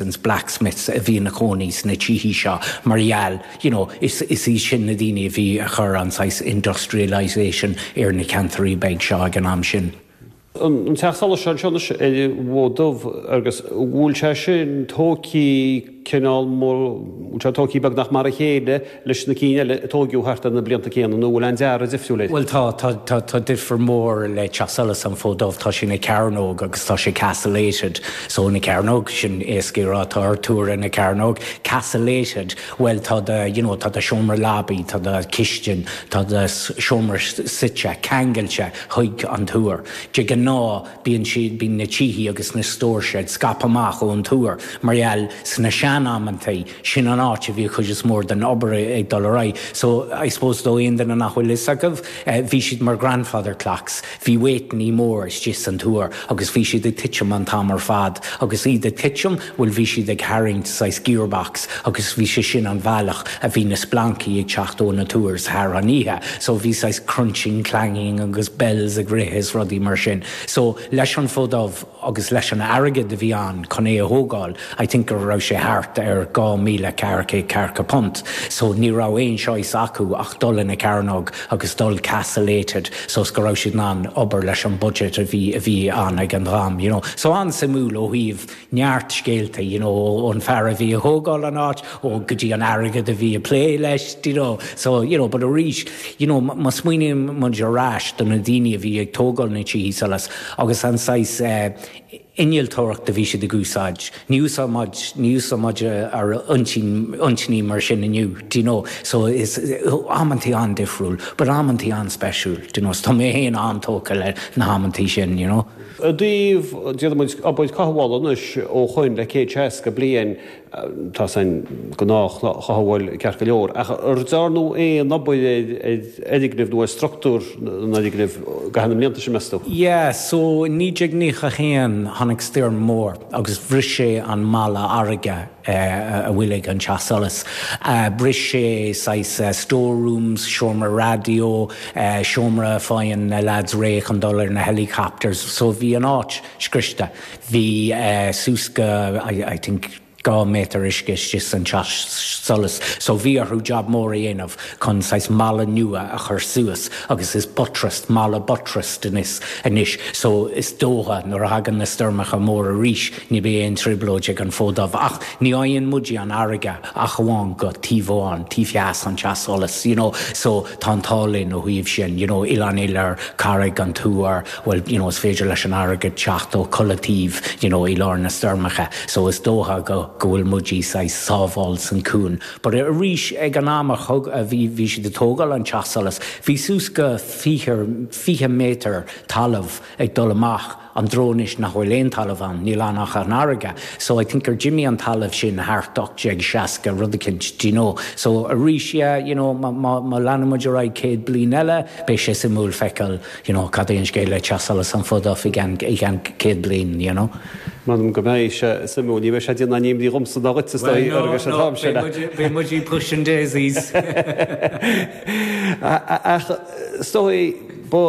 Blacksmiths a bhí ina cónaí sna tithe seo mar gheall, you know, is is iad sin na daoine a bhí a chur an saghas industrialisation ar na ceantairí beag seo ag an am sin. An teach solais seo anseo anois ar an bhFód Dubh agus bhfuil sé sin tógtha cineál mór, bhfuil sé tógtha beagnach mar a chéile leis na cinn eile a tóigeadh thart ar na blianta céanna nó bhfuil aon dearadh difriúil air? Bhuel tá, tá, tá, tá difear mór le Teach Solais an Fód Dubh, tá sé ina cearnóg agus tá sé castellated, so ina cearnóg, sin éasca a rá, tá ar túr ina cearnóg, castellated, bhuel tá do, you know, tá do seomra leabaí, tá do chistin, tá do seomra suite ceangailte chuig an túr. De ghnáth bíonn siad, bíonn na tithe agus na store sheds scaipthe amach ón túr mar gheall sna sean-amantaí, Sin an áit a bhí an chuid is mór den obair ag dul ar aghaidh. So, I suppose do aon duine nach bhfuil fhios acu, bhí siad mar grandfather clocks. Bhí weightannaí mór istigh san túr agus bhí siad ag titim an t-am ar fad agus iad ag titim, bhuel bhí siad ag tharraingt saghas gearbox agus bhí sé sin an bhealach a bhí na splancaí ag teacht ó na túir thar an oíche. So bhí saghas crunching, clanging agus bells ag rith is rudaí mar sin. So leis an Fód Dubh, agus leis an airgead a bhí ann chun é a thógáil, I think go raibh sé thart ar £2,440, so ní raibh aon choice acu ach dul ina cearnóg agus dul castellated so is go raibh siad in ann obair leis an budget a bhí a bhí ann ag an am, you know. So an-suimiúil ó thaobh neart scéalta, you know, ón fear a bhí a thógáil an áit, ó go dtí an airgead a bhí ag plé leis, do you know. So, you know, but arís, you know, má smaoiníonn muid ar ais do na daoine a bhí ag tógáil na tithe solais agus an saghas innealtóireacht a bhí siad ag úsáid, ní úsáid muid, ní úsáid muid ár n-intinní mar sin inniu, do you know. So is amantaí an-difriúil, but amantaí an-speisiúil, do you know. So tá mé féin an-tógtha le na hamantaí sin, you know. I dtaobh, déarfaidh muid, obair cothabhála anois ó shoin le 160 bliain, Tá san gnáthchothabháil ceart go leor, ach ar dearnadh aon obair ar fhoirgnimh nó ar struchtúr an fhoirgnimh i gcaitheamh na mblianta sin, meas tú? Yeah, so i 1991 tháinig stoirm mór agus bhris sé an mballa fharraige a bhfuil ag an Teach Solais. Bhris sé saghas store rooms, seomra raidió, seomra a faigheann na lads réidh chun dul ar na helicopters, so bhí an áit scriosta. Bhí suas go, I think, 2 méadar uisce istigh san teach solais so bhí orthu job mór a dhéanamh chun saghas mballa nua a chur suas agus is buttressed, mballa buttressed anois anois so is dócha nuair a thagann na stoirmeacha móra arís ní beidh aon trioblóid ag an Fód Dubh ach ní fhaigheann muide an fharraige ach amháin go taobh amháin, taobh theas an teach solais you know so tá an t-ádh linn ó thaobh sin you know Oileán Iolair, Carraig an Tuar, bhuel, you know, is féidir leis an fharraige teacht ó chuile taobh, you know, i lár na stoirmeacha, so is dócha go, go bhfuil muid saghas sábháil san cuan. But arís, ag an am a thug, a bhí, bhí siad ag tógáil an teach solais, bhí suas go 20, 20 méadar talamh ag dul amach an dtreo anois nach bhfuil aon talamh ann, níl ann ach an fharraige. So I think gur d'imigh an talamh sin thart 1860, rud eicínt, do you know. So arís, yeah, you know, má, má, má leanann muid ar aghaidh 100 bliain eile, beidh sé suimiúil feiceáil, you know, cad é an scéal le Teach Solais an Fód Dubh i gceann, i gceann 100 bliain, you know. M'anam go mbeidh sé suimiúil. Ní bheidh sé ag déanamh aon imní dhomsa ná dhuit, is dóigh, Well, no, no, beidh muid, beidh muid ag pushing daisies. Ach is dóigh, ba,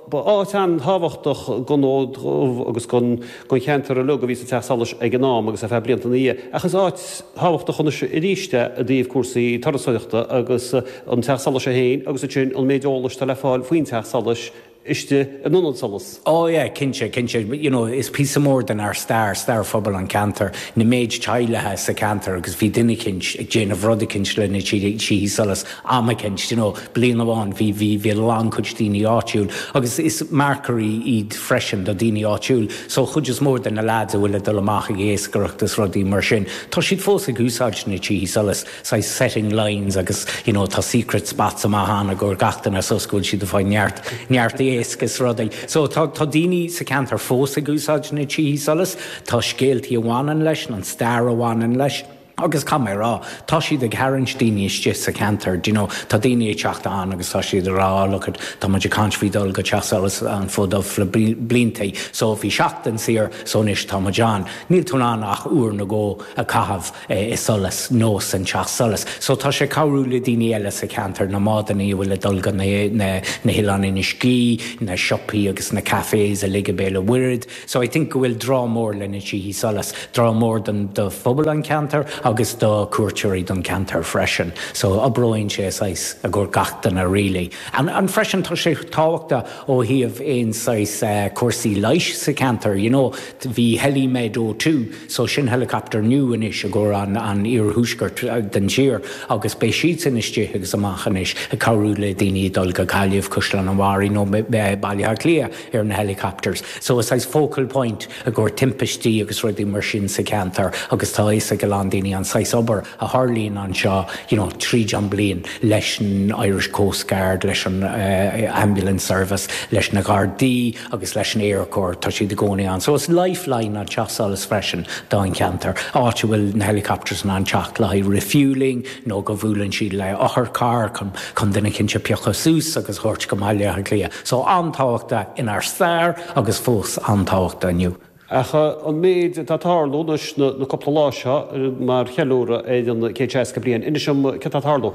ba áit an-tábhachtach don Fhód Dubh agus don, don cheantar uilig a bhí sa Teach Solais ag an am agus ar feadh blianta ina dhiaidh. Ach is áit thábhachtach anois arís é i dtaobh cúrsaí turasóireachta agus an Teach Solais é féin agus ansin an méid eolais atá le fáil faoin Teach Solais istigh in Ionad Solais. Oh yeah, cinnte, cinnte. You know, is píosa mór den ár stair, stair phobal an ceantar, na méid teaghlaithe sa ceantar agus bhí duine eicínt ag déanamh rud eicínt le na tithe solais am eicínt, you know, bliain amháin bhí, bhí, bhí a lán cuid daoine áitiúil agus is marcairí iad freisin do daoine áitiúil. So chuid is mór de na lads a bhfuil ag dul amach ag iascaireacht is rudaí mar sin, tá siad fós ag úsáid na tithe solais. saghas setting lines agus you know tá secret spots amach ann i gcomhair gach duine so go bhfuil siad ag fáil neart neart éisc is rudaí. So tá tá daoine sa ceantar fós ag úsáid na tithe solais, tá scéaltaí a bhaineann leis, an stair a bhaineann leis. Agus caithfidh mé a rá, tá siad ag tharraingt daoine istigh sa cheantar, do you know, tá daoine ag teacht ann agus tá siad ag rá, oh look it, tá muid ag caint faoi dul go Teach Solais an Fód Dubh le blianta, so bhí seachtain saor, so anois tá muid ann. Níl tú in ann ach uair nó dhó a chaitheamh i solas nó san teach solais. So tá sé ag cabhrú le daoine eile sa cheantar, na mbádannaí a bhfuil ag dul go na hOileáin Inis Gí, na siopaí agus na cafés uilig i Béal an Mhuirthead. So I think go bhfuil draw mór le na tithe solais, draw mór don do phobal an ceantar agus do cuairteoirí don ceantar freisin. So oibreoíonn sé saghas i gcomhair gach duine really. And and freisin tá sé tábhachtach ó thaobh aon saghas cúrsaí leighis sa ceantar, you know, bhí Helimed 02, so sin helicopter nua anois i gcomhair an an iarthuaisceart den tír agus beidh siadsan istigh agus amach anois ag cabhrú le daoine dul go Gaillimh, Caisleán an Bharraigh nó Baile Átha Cliath. ar na helicopters. So is saghas focal point i gcomhair timpistí agus rudaí mar sin sa cheantar agus tá a fhios ag a lán daoine an saghas obair a tharlaíonn anseo you know tríd an bliain leis an Irish Coast Guard, leis an Ambulance Service, leis na Gardaí agus leis an Aerchór, tá siad i gcónaí ann. So is lifeline an Teach Solais freisin don cheantar, áit a bhfuil na helicopters in ann teacht le haghaidh refuelling nó go bhuaileann siad le otharcharr chun chun duine eicínt a phiocadh suas agus a thabhairt go Baile Átha Cliath. So an-tábhachtach inár stair agus fós an-tábhachtach inniu. Ach an méid atá ag tarlú anois na cúpla lá seo mar cheiliúradh ar an 160 bliain, inis dom céard atá ag tarlú?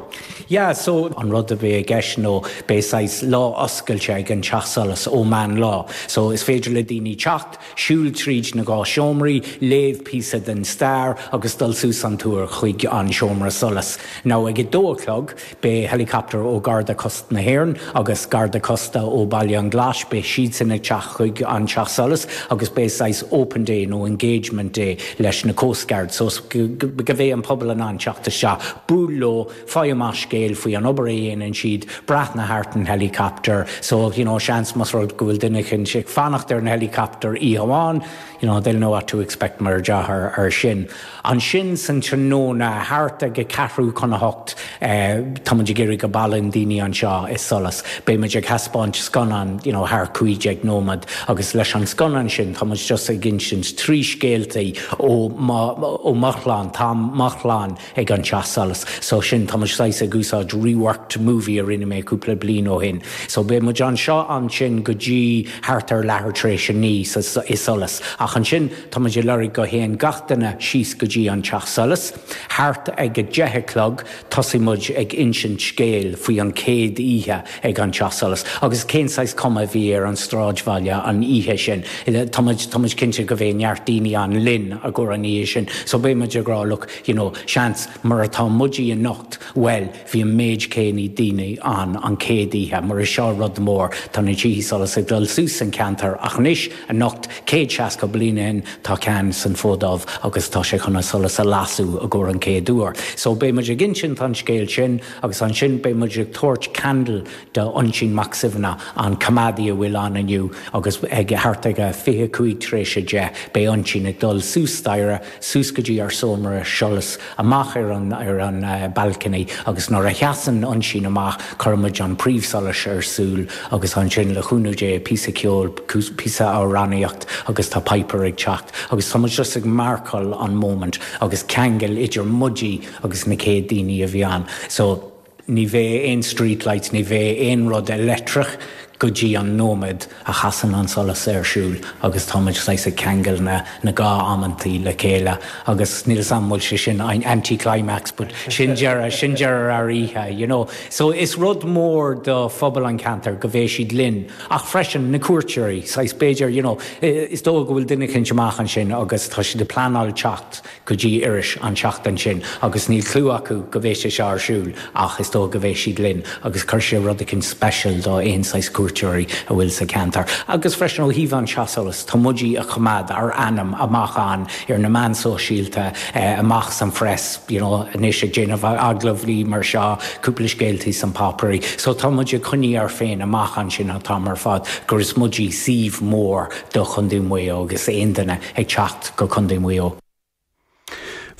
Yeah, so an rud a bheidh i gceist nó beidh saghas lá oscailte ag an Teach Solais ó meán lá. So is féidir le daoine teacht, siúl tríd na dhá seomraí, léamh píosa den stair agus dul suas an túr chuig an seomra solais. Now ag a dó a chlog, Beidh helicopter ó Garda Cósta na hÉireann agus Garda Cósta ó Baile an Ghlais, beidh siadsan ag teacht chuig an Teach Solais agus beidh saghas open day nó engagement day leis na Coast Guards so go mbeidh an pobal in ann teacht isteach, buail leo, faigh amach scéal faoi an obair a dhéanann siad, breathnaigh thart an helicopter so you know seans más rud go bhfuil duine eicínt ag fanacht ar an helicopter oíche amháin, you know, they'll know what to expect mar a déarfá ar sin. Ansin san tráthnóna, thart ag a ceathrú chun a hocht, tá muid ag iarraidh go bailíonn daoine anseo i Solas. Beidh muid ag thaispeáint scannán, you know, thar 15 nóiméad agus leis an scannán sin tá muid just ag insint trí scéaltaí ó mo, ó mo chlann, tá mo chlann ag an Teach Solais. So sin, tá muid saghas ag úsáid reworked movie a rinne mé cúpla bliain ó shin. So beidh muid anseo ansin go dtí thart ar leathuair tar éis a naoi sa, i Solas. Ach ansin tá muid ag lorg go théann gach duine síos go dtí an Teach Solais. Thart ag a deich a chlog tosaigh muid ag insint scéil faoi an chéad oíche ag an Teach Solais agus cén saghas cuma a bhí ar an stráidbhaile an oíche sin. Tá muid, tá muid cinnte go bheidh neart daoine ann linn i gcomhair an oíche sin. So beidh muid ag rá look, you know, seans mar atá muidí anocht, bhuel, bhí an méid céanna daoine ann an chéad oíche, mar is seo rud mór, tá na tithe solais ag dul suas san ceantar ach anois, anocht, 160 bliain ó shin, tá ceann san Fód Dubh agus tá sé chun an solas a lasadh i gcomhair an chéad uair. So beidh muid ag insint an scéal sin agus ansin beidh muid ag tabhairt candle do Oisín Mac Suibhne, an coimeádaí a bhfuil ann inniu agus ag thart ag a 25 tar éis a 10 beidh Oisín ag dul suas staighre, suas go dtí ár seomra solais, amach ar an ar an balcony agus nuair a sheasann Oisín amach cuireann muid an príomhsholais ar siúl agus ansin le cúnamh Dé píosa ceoil, píosa amhránaíocht agus tá piper ag teacht agus tá muid just ag marcáil an moment agus ceangal idir muidí agus na céad daoine a bhí ann. So. Ní bheidh aon street lights, ní bheidh aon rud leictreach go dtí an nóiméad a chasann an solas ar siúl agus tá muid saghas ag ceangal na na dhá amantaí le chéile agus níl 'fhios a'm bhfuil sé sin anti-climax but sin deireadh, sin deireadh ár oíche, you know. So is rud mór do phobal an cheantair go bheidh siad linn ach freisin na cuairteoirí, saghas b'fhéidir, you know, is dóigh go bhfuil duine eicínt amach ansin agus tá siad ag pleanáil teacht go dtí Iorras an tseachtain sin agus níl clue acu go bheidh sé seo ar siúl ach is dóigh go bheidh siad linn agus cuirfidh sé rud eicínt special do aon saghas cuairteoirí a bhfuil sa cheantar. Agus freisin ó thaobh an Teach Solais, tá muidí a choimeád ár ainm amach ann ar na meáin sóisialta, amach san phress, you know, anois ag déanamh agallamhaí mar seo, cúpla scéaltaí san páipéirí. So tá muid ag coinní ár féin amach ansin an t-am ar fad gur is muidí suíomh mór do Chontae Mhaigh Eo agus aon duine ag teacht go Contae Mhaigh Eo.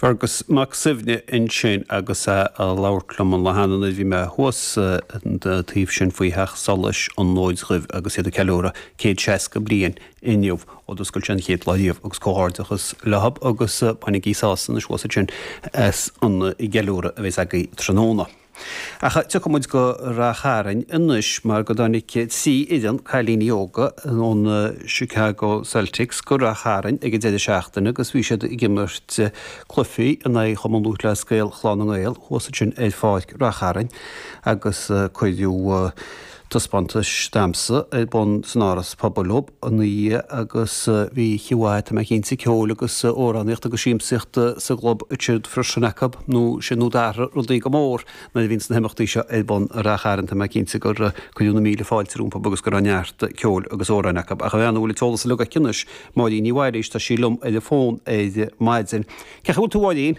Fergus Mac Suibhne ansin agus é ag labhairt liom an lá cheana nuair a bhí mé thuas an taobh sin faoi Theach Solais an Fhóid Dhuibh agus iad ag ceiliúradh 160 bliain inniu ó d'oscail sé an chéad lá riamh agus comhghairdeachas leothab agus bainigí sásamh anois thuas ansin as an gceiliúradh a bheas agaibh tráthnóna. Ach tiocfaidh muid go Rath Chairn anois mar go dtáinig 3 fhoireann cailíní óga ón Chicago Celtics go Rath Chairn ag an deireadh seachtaine agus bhí siad ag imirt cluichí in aghaidh Chumann Lúthchleas Gael Chlann na nGael thuas ansin ar pháirc Rath Chairn agus cuireadh taispeántas damhsa ar bun san Áras Pobail leo ina dhiaidh agus bhí oíche mhaith, tá mé cinnte, ceoil agus amhránaíocht agus siamsaíocht sa gclub ansin freisin acu, nó sin nó d'athraigh rudaí go mór nuair a bhíonns na himeachtaí seo ar bun i Rath Chairn, tá mé cinnte gur cuireadh na míle fáilte rompu agus go raibh neart ceoil agus amhráin acu. Ach an bhean a bhfuil an t-eolas uilig aici anois, Máirín Ní Mhailís, tá sí liom ar an bhfón ar maidin. Cén chaoi a bhfuil tú a Mháirín?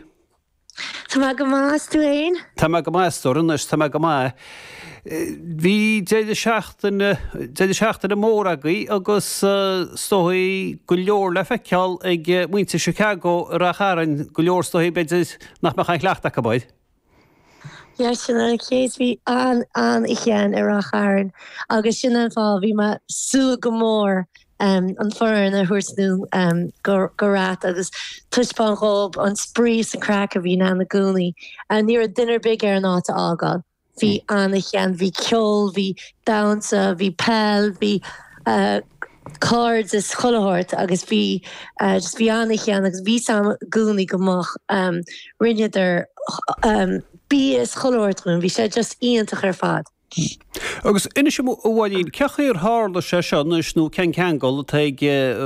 Tá mé go maith, is tú fhéin? Tá mé go maith, a stór, anois, tá mé go maith. Bhí deireadh seachtaine, deireadh seachtaine mór agaibh agus is dóigh go leor le feiceáil ag muintir Chicago i Rath Chairn, go leor is dóigh b'fhéidir nach mbeadh aon chleachtadh acu air. Yeah, sin an chéad, bhí an-oíche ann i Rath Chairn agus sin an fáth, bhí mé ag súil go mór an foireann a thabhairt anonn go Rath agus taispeáint dhóibh an spraoi is an craic a bhíonn ann i gcónaí. Ní raibh duine ar bith ag iarraidh an áit a fhágáil. Bhí an-oíche ann, bhí ceol, bhí damhsa, bhí peil, bhí cairdeas chuile shórt agus bhí just bhí an-oíche ann agus bhí 's a'm i gcónaí go mbeadh rinneadar bia is chuile shórt dhúinn, bhí sé just iontach ar fad. Agus inis dom, a Mháirín, cén chaoi ar tharla sé seo anois nó cén ceangal atá ag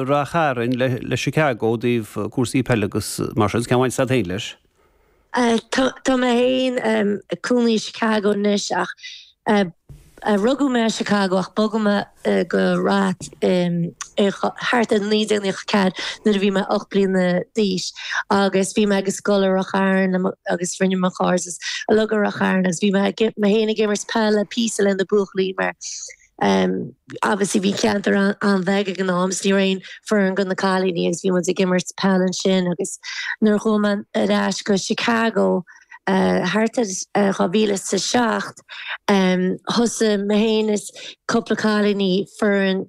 Rath Chairn le Chicago i dtaobh cúrsaí peile agus mar sin, cén bhaint atá agat féin leis? Tá mé féin ag cónaí i Chicago anois ach rugadh mé i Chicago ach bogadh mé go Rath thart ar 1994 nuair a bhí mé 8 bliana d'aois agus bhí mé ag scoil i Rath Chairn agus rinne mo chairdeas uilig i Rath Chairn agus bhí mé mé féin ag imirt peile píosa le na buachaillí mar obviously bhí ceantar an-bheag ag an am so ní raibh aon foireann go na cailíní agus bhí muid ag imirt peil ansin agus nuair a chuaigh mé ar ais go Chicago thart ar 2007 thosaigh mé féin is cúpla cailíní foireann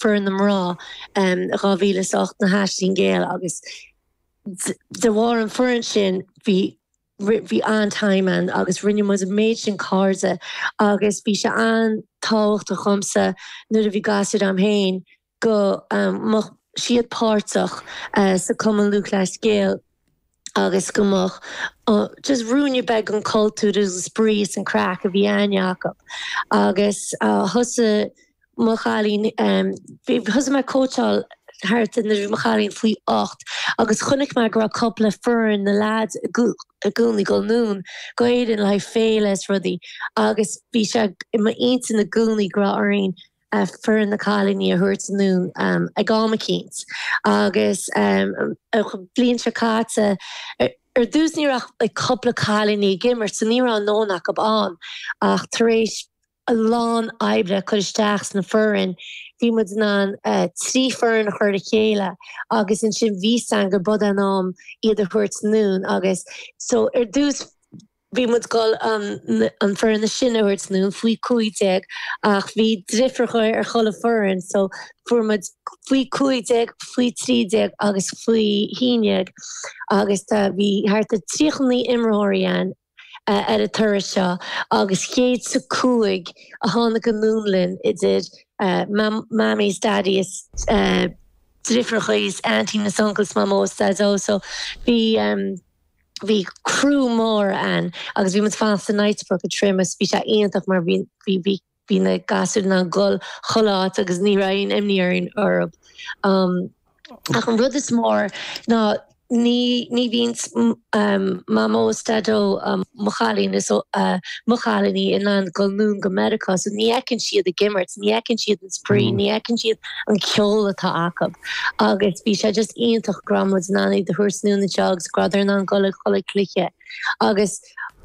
foireann na mná 2008 na hAisling Ghéar agus de bharr an foireann sin bhí bhí an-time ann agus rinne muid an méid sin cairde agus bhí sé an-tábhachtach dhomsa nuair a bhí gasúir a'm féin go mbeadh siad páirteach sa Cumann Lúthchleas Gael agus go mbeadh just ruainne beag den cultúr agus an spraoi is an craic a bhí aithne acu. Agus thosaigh mo chailín, thosaigh mé ag cóitseáil thart nuair a bhí mo chailín faoi 8 agus chonaic mé go raibh cúpla foireann na leaids i gcónaí ag dul anonn go Éirinn le haghaidh féile is rudaí agus bhí sé i m'intinn i gcónaí go raibh orainn foireann na cailíní a thabhairt anonn ag am eicínt agus an bhliain seo caite ar dtús ní raibh ach cúpla cailíní ag imirt so ní raibh a ndóthain acu ann ach tar éis a lán oibre a chur isteach sna foireann bhí muid in ann 3 foireann a chur le chéile agus ansin bhí 's a'inn gur b'é an am iad a thabhairt anonn agus so ar dtús Bhí muid ag dul an foireann is sine a thabhairt anonn, faoi 15, ach bhí deirfiúracha ar chuile foireann so fuair muid faoi 15, faoi 13 agus faoi 11 agus tá, bhí thart ar 39 imreoirí ann ar an turas seo agus 105 a tháinig anonn linn idir mammies, daddies, deirfiúracha is aunties is uncles, mamó is daideo so bhí. Bhí criú mór ann agus bhí muid fanacht i Knightsbrook i Trim agus bhí sé iontach mar bhí bhí bhí bhí na gasúir in ann dul chuile áit agus ní raibh aon imní orainn orthu. Ach an rud is mór ná ní ní bhíonn Mamó is Daideo mo chailín is mo chailíní in ann dul anonn go Meiriceá so ní fheiceann siad ag imirt, ní fheiceann siad an spraoi, ní fheiceann siad an ceol atá acu agus bhí sé just iontach go raibh muid in ann iad a thabhairt anonn anseo agus go rabhadar in ann dul ag chuile cluiche agus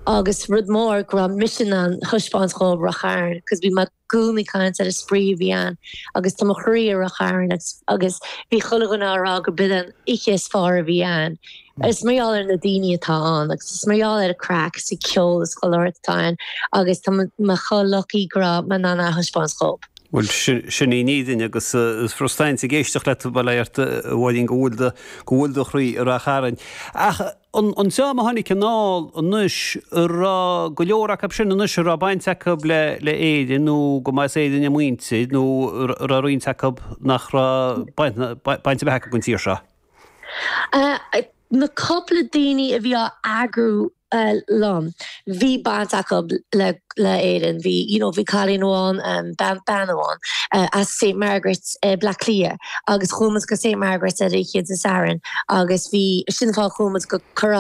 agus rud mór go raibh mise in ann thaispeáint dhóibh Rath Chairn cos bhí mé i gcónaí ag caint ar an spraoi a bhí ann agus tá mo chroí i Rath Chairn agus agus bhí chuile dhuine á rá go b'in an oíche is fearr a bhí ann. Is mar gheall ar na daoine atá ann agus is mar gheall ar an craic is an ceol is chuile shórt atá ann agus tá mé chomh lucky go raibh mé in ann é a thaispeáint dhób. Bhuel, sin í an fhírinne agus is frustrant ag éisteacht leat, bail ó Dhia ort, a Mháirín, go bhfuil do, go bhfuil do chroí i Rath Chairn. Ach an, an dream a tháinig anall anois, an raibh go leor acu sin anois a raibh baint acu le, le Éirinn nó go mba as Éirinn a muintir nó an raibh roinnt acu nach raibh baint, baint ar bith acu den tír seo? Na cúpla daoine a bhí á eagrú liom, bhí baint acu le le Éirinn. Bhí, you know, bhí cailín amháin, bean, bean amháin as St Margaret's i Bleá Cliath agus chuaigh muid go St Margaret's ar oíche Dé Sathairn agus bhí, sin an fáth a chuaigh muid go Curragh.